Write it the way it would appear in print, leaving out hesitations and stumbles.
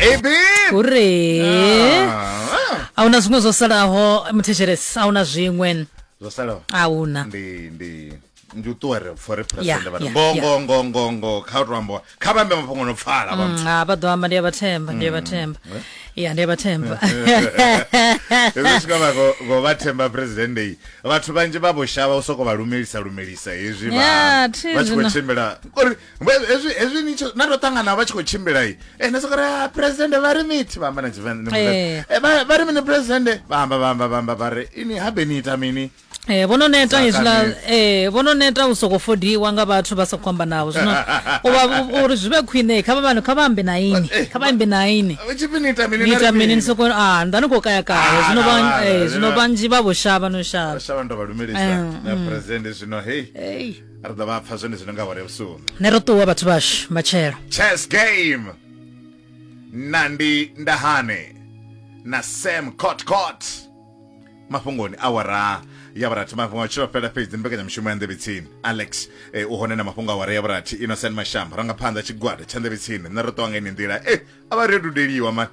Ebi. Uri Ah, a huna zwiṅwe zwo salaho muthetshelesi, a huna zwiṅwe. Zwo salaho A huna. Ndi u ṱuwa ri pfo ri Yeah, president vha yeah, ngo yeah. ngo ngo ngo ngo kha u to ambiwa kha vha ambe mafhungo no pfala vha Ah, vha ḓo amba, ndi a vha themba, ndi a vha themba. Ya, ndi a vha themba. Hezwi swika vha go vha themba president iyi, vhathu vhanzhi vha vho shavha u soko vha lumelisa lumelisa hezwi vha Yeah, thi vha tshi khou zwino. tshimbila uri hezwi hezwi ni tsho na to ṱangana vha tshi khou tshimbila i eh na soko ri ah, president vha ri mithi vha amba na Tshivenḓa Eh. eh vha ri mini president vha amba vha amba vha amba vha ri ini habe ni ita mini. Eh, vho no neta Zwa hezwiḽa kale. eh, vho no neta u sokou fodiwa nga vhathu vha sa khou amba navho zwino u vha uri zwi vhe khwine kha vha kha vha ambe na ini, Eh, kha vha ambe na ini. Tshipfi ni ita mini ni na ri ita mini ni mini? soko a nda ni khou kaya kaya Ah, zwino na vha vhana, eh, zwino zwino- vhanzhi vha vho shavha no shavha. Shavha ndo vha lumelisa na president zwino hey Ei. ri ḓo vha pfa zwone zwino nga awara ya vhusumbe. Ne ro ṱuwa vhathu vhashu matshelo. Chess game Nandi Ndahane na Sam Cot mafhungoni awara ya vhurathi, mafhungo a tshilo fhela fhedzi mbekanyamushumo ya nḓevhe tsini. Alex eh, u hone na mafhungo awara ya vhurathi. Innocent Mashamba rangaphanḓa tshigwada tsha nḓevhe tsini. Nṋe ro ṱuwa nga ine nḓila eh a vha ri dudeliwa man.